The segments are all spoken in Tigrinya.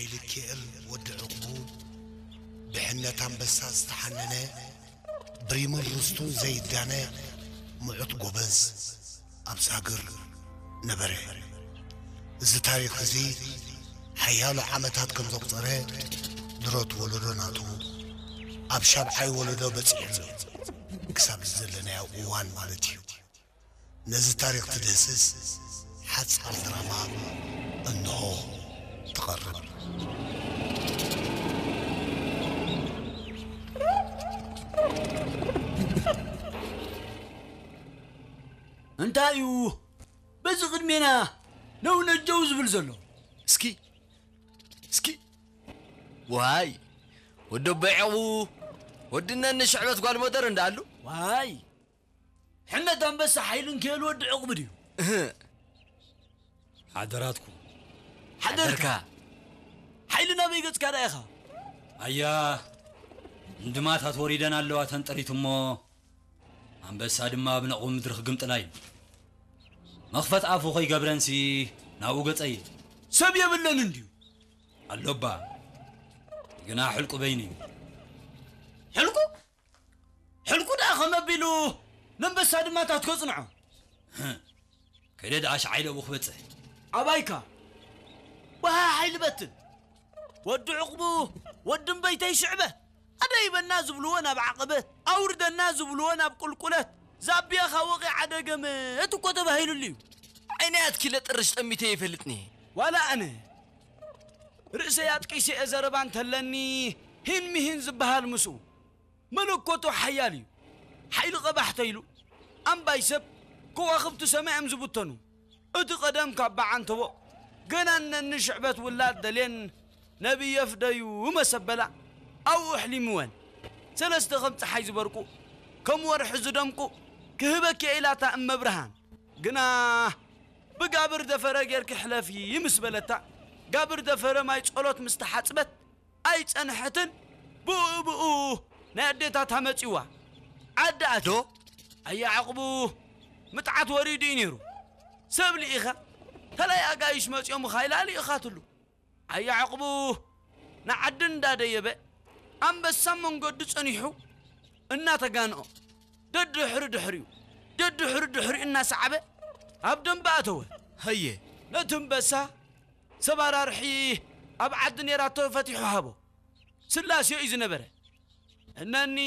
ሓይልኪኤል ወዲ ዕቑቡ ብሕነት ኣንበሳ ዝተሓነነ ብሪሙን ርስቱን ዘይዳነ ምዑት ጎበዝ ኣብ ሳግር ነበረ። እዚ ታሪኽ እዚ ሓያሎ ዓመታት ከም ዘቑጸረ ድሮት ወለዶ ናቱ ኣብ ሻብዓይ ወለዶ በጺሑ ኣሎ። ክሳብ እዚ ዘለናዮ እዋን ማለት እዩ። ነዚ ታሪኽ ትድህስስ ሓጻር ድራማ እንሆ ትቐርብ። እንታይ እዩ በዚ ቅድሜና ነው ነጀው ዝብል ዘሎ? እስኪ እስኪ ዋይ ወዲ ኣቦይ ዕቑቡ፣ ወዲ እነኒ ሽዕበት ጓል ሞደር እንዳኣሉ። ዋይ ሕነት ኣንበሳ ሓይልን ክእል ወዲ ዕቑቡ ድዩ? እህ። ሓደራትኩም። ሓደርካ። ሓይሊ ናበይ ገጽካ ደኣ ኢኻ? ኣያ እንድማታት ወሪደን ኣለዋ ተንጠሪት እሞ ኣንበሳ ድማ ኣብ ነቑ ምድሪ ክግምጥላ እዩ። መኽፈት ኣፉ ከይገብረንሲ ናብኡ ገጸየ። ሰብ የብለን እንድዩ። ኣሎባ ግና ሕልቁ በይኑ እዩ። ሕልቁ? ሕልቁ ደኣ ከመ ኣቢሉ ነንበሳ ድማ ታት ከጽንዖ? ከይደ ደኣ ሸዓይ ደቡ ክበጽሕ። ኣባይካ ወሃ ሓይሊ በትን ወዲ ዕቑቡ ወዲ እምበይተይ ሽዕበት ኣደይበና ዝብልዎ ናብ ዓቐበት ኣውርደና ዝብልዎ ናብ ቁልቁለት ዛብያኻ ወቒ ዓደገመት እኮ ተባሂሉሉ እዩ። ዓይነይ ኣትኪለ ጥርሽ ጠሚተ ይፈልጥኒ። ዋላ ኣነ ርእሰይ ኣጥቂሰ እየ ዘረባ እንተለኒ ሂን ምሂን ዝበሃል ምስኡ መለኮቱ ሓያል እዩ። ሓይሊ ቀባሕተ ኢሉ ኣምባይ ሰብ ከዋኽብቲ ሰማይ እዮም ዝብተኑ። እቲ ቀደም ካብ በዓንተቦ ገና እነኒ ሽዕበት ውላድ ደልየን ነብየ ፍደዩ መሰበላ ኣብኡ ኣሕሊምወን። ሰለስተ ከም ፀሓይ ዝበርቁ ከም ወርሒ ዝደምቁ ክህበኪ እየ ኢላታ እመብርሃን። ግና ብጋብር ደፈረ ጌርኪ ሕለፊ ምስ በለታ ጋብር ደፈረ ማይ ጸሎት ምስ ተሓጽበት ኣይጸንሐትን። ብኡ ብኡ ናይ ኣዴታታ መጺዋ ዓዲ ኣትዮ። ኣያ ዕቕቡ ምጥዓት ወሪዱ እዩ ነይሩ። ሰብ ልኢኻ ተላይ ኣጋይሽ መጺኦምኻ ኢላ ልኢኻትሉ። ኣያ ዕቕቡ ንዓዲ እንዳደየበ ኣንበሳ መንገዱ ጸኒሑ እናተጋንኦ ደድሕሪ ድሕሪኡ ደድሕሪ ድሕሪኡ እናሰዓበ ኣብ ደንበ ኣተወ። ሃየ ነቲ ኣንበሳ ሰብ ኣራርሒ ኣብ ዓዲ ነይራቶ ፈቲሑ ሃቦ። ስላሴ እዩ ዝነበረ። እነኒ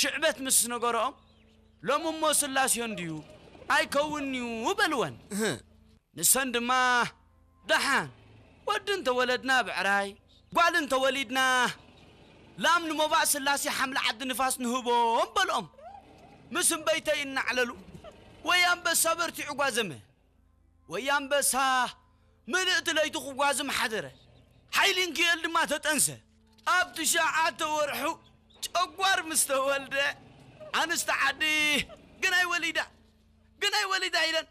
ሽዕበት ምስ ነገርኦም ሎሚ እሞ ስላሴ እንድዩ ኣይከውንንዩ በልወን። ንሰን ድማ ደሓን ወዲ እንተወለድና ብዕራይ ጓል እንተወሊድና ላም ንሞባእ ስላሴ ሓምሊ ዓዲ ንፋስ ንህቦም በልኦም። ምስ እምበይተይ እናዕለሉ ወይ ኣንበሳ በርቲዑ ጓዘመ ወይ ኣንበሳ ምልእቲ ለይቱ ክጓዝም ሓደረ። ሓይሊ እንክእል ድማ ተጠንሰ። ኣብ ትሽዓተ ወርሑ ጨጓር ምስ ተወልደ ኣንስቲ ዓዲ ግናይ ወሊዳ ግናይ ወሊዳ ኢለን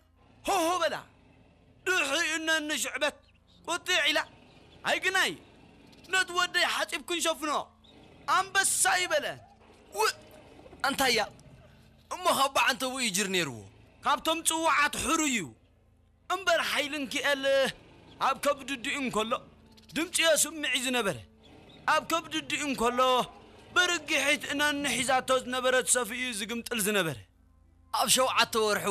ሆሆ በላ። ድሕሪኡ እነኒ ሽዕበት ቁጥዕ ኢላ ኣይግናይ ነቲ ወደይ ሓፂብ ክንሸፍኖ ኣንበሳ ይበለ። ውእ ኣንታያ እሞ ካብ በዓንተቡ እዩ ጅር ነይርዎ። ካብቶም ፅዋዓት ሕሩይ እዩ እምበር ሓይሊ እንክኤል ኣብ ከብድድኡ እንከሎ ድምፂ የስምዕ እዩ ዝነበረ። ኣብ ከብድድኡ እንከሎ ብርግሒት እነኒ ሒዛቶ ዝነበረት ሰፍኡ እዩ ዝግምጥል ዝነበረ። ኣብ ሸውዓተ ወርሑ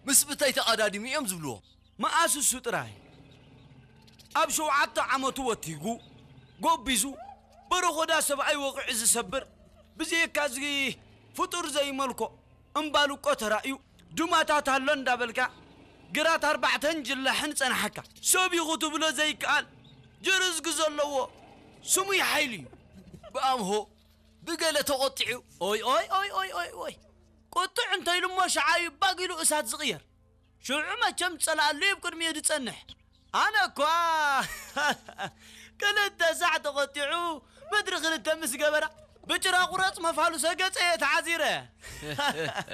ምስ ብተይ ተቐዳዲሙ እዮም ዝብልዎ። መኣስ እሱ ጥራይ ኣብ ሸውዓተ ዓመቱ ወቲጉ ጎቢዙ በረኾዳ ሰብኣይ ወቒዑ ዝሰብር ብዘየካ እዚ ፍጡር ዘይመልኮ እምባልቆ ተራእዩ ዱማታት ኣሎ እንዳበልካ ግራት ኣርባዕተን ጅላሕን ጸናሓካ ሰብ ኢኹ ትብሎ ዘይከኣል ጅርዝጊ ዘለዎ ስሙይ ሓይሊ እዩ። ብኣምሆ ብገለ ተቖጢዑ። ኦይ ኦይ ኦይ ኦይ ኦይ ኦይ ቁጥዕ እንተኢሉ እሞ ሸዓ እዩ ባግ ኢሉ እሳት ዝቕየር። ሽዑ መቸም ጸላኣሉ እዩ ኣብ ቅድሚኡ ዝጸንሕ። ኣነ እኳ ክልተ ሳዕ ተቖጢዑ ምድሪ ክልተ ምስ ገበራ ብጭራ ቁረጽ መፋሉሰ ገጸ እየ ተዓዚረ።